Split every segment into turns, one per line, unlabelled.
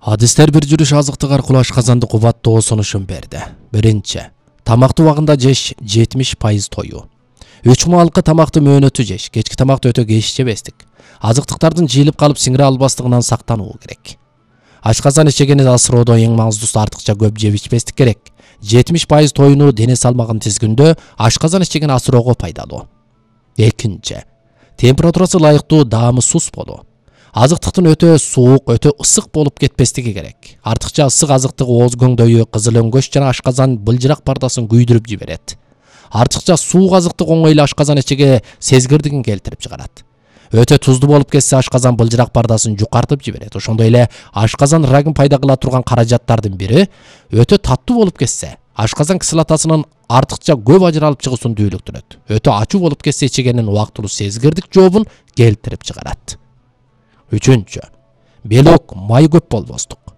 Адистер бир жүрүш азыктык аркылуу ашказанды кубаттоо сунушун берди. Биринчи, тамакты убагында жеш 70% тою. 3 маалкы тамакты мөөнөтү жеш, кечки тамакты өтө кеч жебестик. Азыктыктардын жыйылып калып сиңире албастыгынан сактануу керек. Ашказан ичегени асыроодо эң маңыздуусу артыкча көп жеп ичпестик керек. 70% тоюну дене салмагын тизгиндө ашказан ичегени асыроого пайдалуу. Экинчи, температурасы ылайыктуу даамы сус болуу. Азыктыктын өтө суук, өтө ысык болуп кетпестиги керек. Артыкча ысык азыктык ооз көңдөйү, кызыл өңгөч жана ашказан былжырак пардасын күйдүрүп жиберет. Артыкча суук азыктык оңой эле ашказан ичеге сезгирдигин келтирип чыгарат. Өтө тузду болуп кетсе ашказан былжырак пардасын жукартып жиберет. Ошондой эле ашказан рагын пайда кыла турган каражаттардын бири өтө таттуу болуп кетсе ашказан кислотасынын артыкча көп ажыралып чыгуусун дүүлүктүрөт. Өтө ачуу болуп кетсе ичегенин убактылуу сезгирдик жообун келтирип чыгарат. Үчүнчү, белок, май көп болбостук.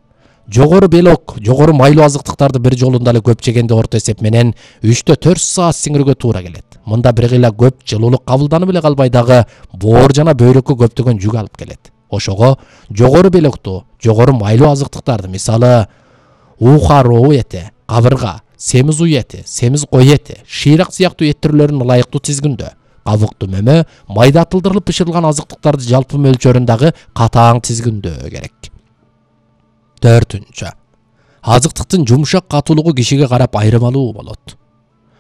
Жогору белок, жогору майлуу азыктыктарды бир жолунда эле көп жегенде орто эсеп менен 3-4 саат сиңирүүгө туура келет. Мында бир гыйла көп жылуулук кабылданып эле калбай дагы боор жана бөйрөккө көптөгөн жүк алып келет. Ошого жогору белоктуу, жогору майлуу азыктыктарды, мисалы ухароо эти, кабырга, семиз уй эти, семиз кой эти, шыйрак сыяктуу эт түрлөрүн ылайыктуу тизгиндө, кабыктуу мөмө, майдатылдырылып бышырылган азыктыктарды жалпы мөлчөрүндагы катаң тизгиндөө керек. Төртүнчү, азыктыктын жумшак катуулугу кишиге карап айырмалуу болот.